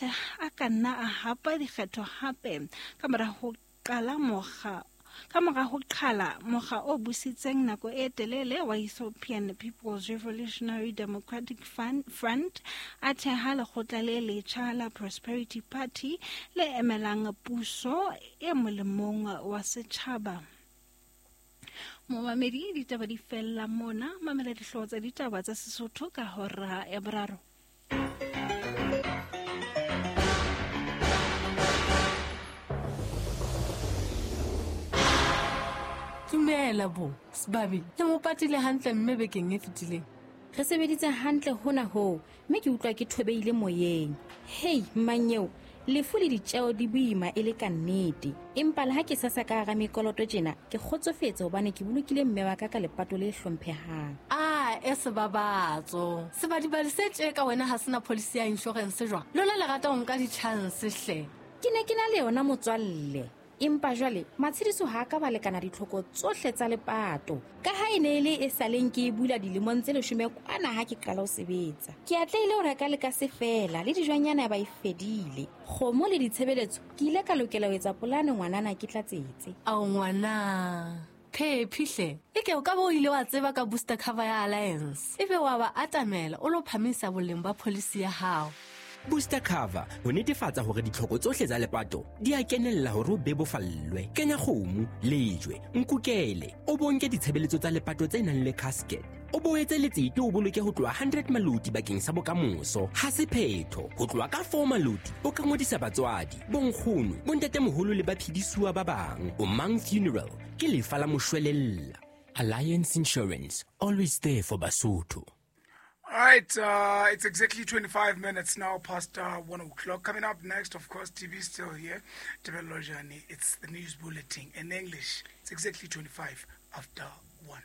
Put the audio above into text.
A ka nna a hapa dikgetho hape ka mora ho qala mokga ka mora ho qhala mokga o busitseng nako e telele wa Ethiopian People's Revolutionary Democratic Front, a theha lekgotla le letjha la Prosperity Party le emelang puso e molemong wa setjhaba. Momamedi, ditaba di fella mona. Mamela dihlooho tsa ditaba tsa Sesotho ka hora ya boraro. Dumela bo sebabi, le mo patile hantle mme bekeng e fetileng. Re sebeditse hantle hona hoo, mme ke utlwa ke thobeile moyeng. Hei mmanyeo, lefu le ditjeo di boima e le ka nnete, empa le ha ke sasa ka hara mekoloto tjena, ke kgotsofetse hobane ke bolokile mme wa ka ka lepato le hlomphehang. A e sebabatso sebadibadi se tje ka wena ha sena policy ya insurance jwang? Lona le rata ho nka di-chance hle. Ke ne ke na le yona motswalle, empa jwale matshediso ha a ka ba lekana ditlhoko tsohle tsa lepato, ka ha e ne e le e saleng ke e bula dilemong tse 10 kwana ha ke qala ho sebetsa. Ke atlehile ho reka le ka se fela le dijwanyana ya ba e fedile, kgomo le ditshebeletso. Ke ile ka lokela ho etsa polane ngwanana ke tlatsetse. Ao ngwana phephi hle, e ke o ka bo o ile wa tseba ka booster cover ya Alliance, ebe wa ba atamela o lo phamisa boleng ba policy ya hao. Booster cover ho netefatsa hore ditlhoko tsohle tsa lepato di a kenella hore o bebofallwe. Kenya kgomo, lejwe, nkukele, o bonke ditshebeletso tsa lepato tse nang le casket, o boetse letsete, o boloke ho tloha 100 maloti bakeng sa bokamoso. Ha se phetho, ho tloha ka 4 maloti o ka ngodisa batswadi, bonkgono, bontatemoholo le baphedisuwa ba bang. O Mang Funeral ke lefa la moshwelella. Alliance Insurance, always there for Basotho. All right, it's exactly 25 minutes now past 1 o'clock. Coming up next, of course, TV is still here. Tebello Jani, it's the news bulletin in English. It's exactly 25 after 1.